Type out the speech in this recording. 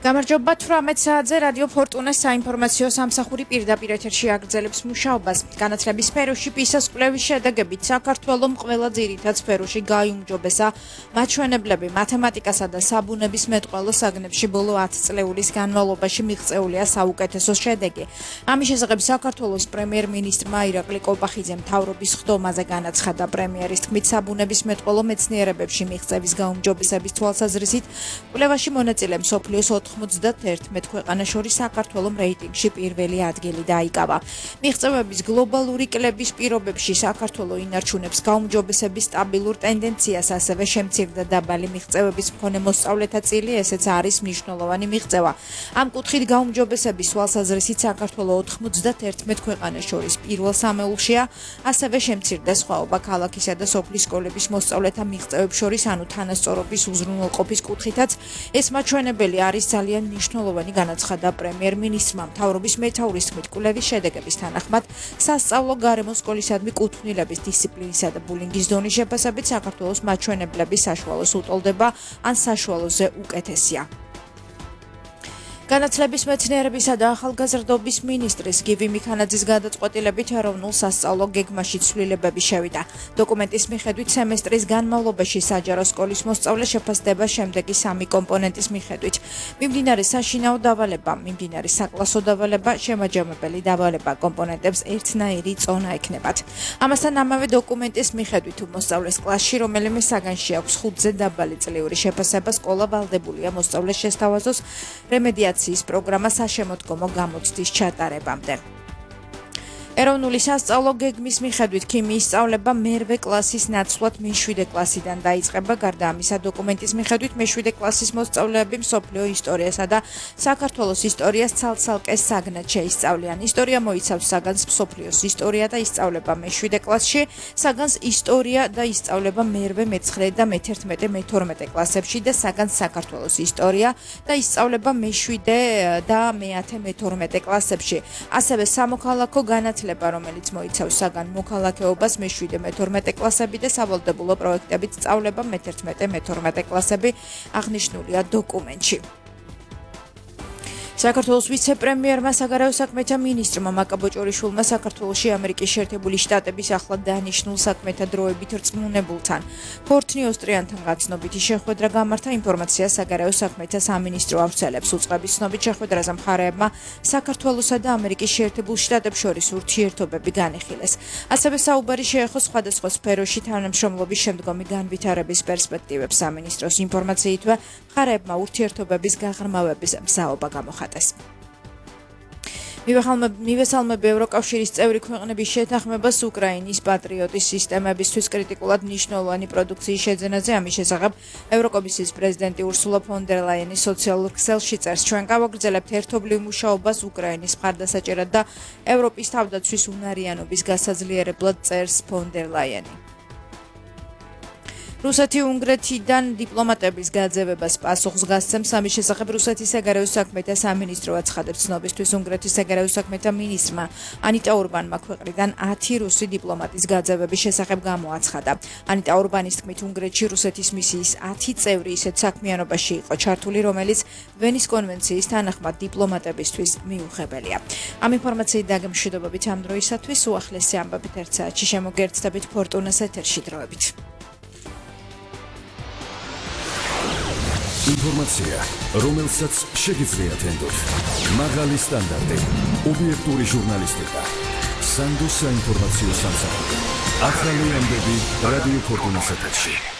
გამარჯობა 18 საათზე რადიო ფორტუნას საინფორმაციო სამსახური პირდაპირ ეთერში აგრძელებს მუშაობას. განათლების სფეროში PISA-ს კვლევის შედეგებით საქართველომ ყველა ძირითად სფეროში გაიუმჯობესა მაჩვენებლები მათემატიკასა და საბუნების მეტყველო საგნებში ბოლო 10 წლეულის განმავლობაში მიღწეულია საუკეთესო შედეგი. ამის შესახებ საქართველოს პრემიერ-მინისტრმა ირაკლი კოპახიძემ მთავრობის ხდომაზე განაცხადა. პრემიერის თქმით, საბუნების მეტყველო მეცნიერებებში მიღწევის გაუმჯობესების თვალსაზრისით კვლევაში მონაწილე მსოფლიოს 91 ქვეყანას შორის საქართველოს რეიტინგში პირველი ადგილი დაიკავა. მიღწევების გლობალური კლების პირობებში საქართველოს ინარჩუნებს გაუმჯობესების სტაბილურ ტენდენციას, ასევე შემცირდა დაბალი მიღწევების მქონე მოსწავლეთა წილი, ესეც არის მნიშვნელოვანი მიღწევა. ამ კუთხით გაუმჯობესების თვალსაზრისით საქართველოს 91 ქვეყანას შორის პირველ სამეულშია, ასევე შემცირდა სხვაობა ქალაქისა და სოფლის სკოლების მოსწავლეთა მიღწევებს შორის, ანუ თანასწორობის უზრუნველყოფის კუთხითაც ეს მაჩვენებელი არის ძალიან მნიშვნელოვანი, განაცხადა პრემიერ-მინისტრმა. მთავრობის მეთაურის თქმით, კვლევის შედეგების თანახმად სასწავლო გარემო სკოლისადმი კუთვნილების დისციპლინისა და ბულინგის დონის შეფასებით საქართველოს მაჩვენებლები საშუალოს უტოლდება ან საშუალოზე უკეთესია. განათლების მეცნიერებისა და ახალგაზრდობის მინისტრის გივი მიქანაძის გადაწყვეტილებით ეროვნულ სასწავლო გეგმაში ცვლილებები შევიდა. დოკუმენტის მიხედვით სემესტრის განმავლობაში საჯარო სკოლის მოსწავლე შეფასდება შემდეგი 3 კომპონენტის მიხედვით: მიმდინარე საშინაო დავალება, მიმდინარე საკლასო დავალება, შემაჯამებელი დავალება. კომპონენტებს ერთნაირი წონა ექნებათ. ამასთან ამავე დოკუმენტის მიხედვით თუ მოსწავლეს კლასში რომელიმე საგანში აქვს 5-ზე დაბალი წლიური შეფასება, სკოლა ვალდებულია მოსწავლეს შესთავაზოს რემედიაციის პროგრამა საშემოდგომო გამოცდის ჩატარებამდე. ეროვნული სასწავლო გეგმის მიხედვით ქიმიის სწავლება მე-8 კლასის ნაცვლად მე-7 კლასიდან დაიწყება. გარდა ამისა, დოკუმენტის მიხედვით მე-7 კლასის მოსწავლეები მსოფლიო ისტორიასა და საქართველოს ისტორიას ცალ-ცალკე საგნად შეისწავლიან. ისტორია მოიცავს საგანს მსოფლიოს ისტორია და ისწავლება მე-7 კლასში, საგანს ისტორია და ისწავლება მე-8, მე-9 და მე-11, მე-12 კლასებში და საგანს საქართველოს ისტორია და ისწავლება მე-7 და მე-10, მე-12 კლასებში. ასევე სამოქალაქო განათლება, რომელიც მოიცავს საგან მოქალაქეობას მე-7, მე-12 კლასები და სავალდებულო პროექტებით სწავლება მე-11, მე-12 კლასები აღნიშნულია დოკუმენტში. საქართველოს ვიცე-პრემიერმა საგარეო საქმეთა მინისტრმა მაკაბოჭორიშვილმა საქართველოში ამერიკის შეერთებული შტატების ახლად დანიშნულ საქმეთა დროებით რწმუნებულთან ფორტნიოსტრიანთან გაცნობითი შეხვედრა გამართა. ინფორმაცია საგარეო საქმეთა სამინისტრო ავრცელებს. უწყების ცნობით შეხვედრაზე მხარეებმა საქართველოსა და ამერიკის შეერთებულ შტატებს შორის ურთიერთობები განიხილეს. ასევე საუბარი შეეხო სხვადასხვა სფეროში თანამშრომლობის შემდგომი განვითარების პერსპექტივებს. სამინისტროს ინფორმაციითვე მხარეებმა ურთიერთობების გაღრმავების მზაობა გამოხატეს. მივესალმები ევროკავშირის წევრი ქვეყნების შეთანხმებას უკრაინის პატრიოტის სისტემებისთვის კრიტიკულად მნიშვნელოვანი პროდუქციის შეძენაზე. ამის შესახებ ევროკომისიის პრეზიდენტი ურსულა ფონ დერ ლაიენი სოციალურ ქსელში წერს: ჩვენ გავაგრძელებთ ერთობლივ მუშაობას უკრაინის მხარდასაჭერად და ევროპის თავდაცვის უნარიანობის გასაძლიერებლად, წერს ფონ დერ ლაიენი. რუსეთი-უნგრეთიდან დიპლომატების გაძევებას პასუხს გასცემს. ამის შესახებ რუსეთის საგარეო საქმეთა სამინისტრო აცხადებს. ცნობისთვის უნგრეთის საგარეო საქმეთა მინისტრმა ანიტა ურბანმა ქვეყნიდან 10 რუსი დიპლომატის გაძევების შესახებ გამოაცხადა. ანიტა ურბანის თქმით, უნგრეთში რუსეთის მისიის 10 წევრი ისეთ საქმიანობაში იყო ჩართული, რომელიც ვენის კონვენციის თანახმად დიპლომატებისთვის მიუღებელია. ამ ინფორმაციით დაგემშვიდობებით ამ დროისათვის. უახლესი ამბებით 1 საათში შემოგერთდებით ფორტუნას ეთერში დროებით. ინფორმაცია, რომელსაც შეგიძლიათ ენდოთ. მაღალი სტანდარტი, ობიექტური ჟურნალისტიკა. სანდოს საინფორმაციო სამსახური. ახალი ამბები რადიო ფორტუნას ეთერში.